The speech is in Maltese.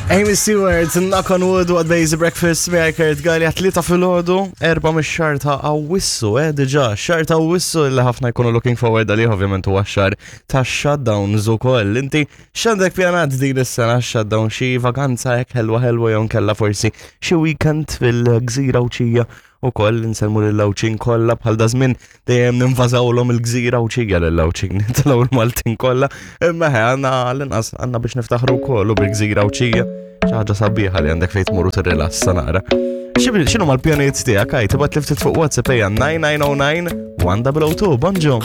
Amy Stewart, Knock on Wood, What Days Breakfast, miegħi Kurt Gallia, tlieta filgħodu, erba' mix-xahar ta' Awwissu, eh, diġà, xahar ta' Awwissu li ħafna jkunu looking forward għalih ovvjament huwa xahar ta' shutdowns ukoll. Inti x'għandek pjanat din is-sena shutdown xi vakanza hekk ħelwa ħelwa jew nkella forsi xi weekend fil-gżira Għawdxija ukoll insellmu lill-Għawdxin kollha bħal da żmien dejjem ninvażawlhom il-gżira Għawdxija lill-Għawdxin, nitilgħu l-Maltin kollha, imma ħe għandna l-inqas għandna biex niftaħru wkoll u bil-gżira Għawdxija xi ħaġa sabiħa li għandek fejn tmur u tirrilassa naqra. X'inhu mal-pjanijiet tiegħek għaj tibgħat li ftit fuq WhatsApp ejja 9909 1002 bonġu.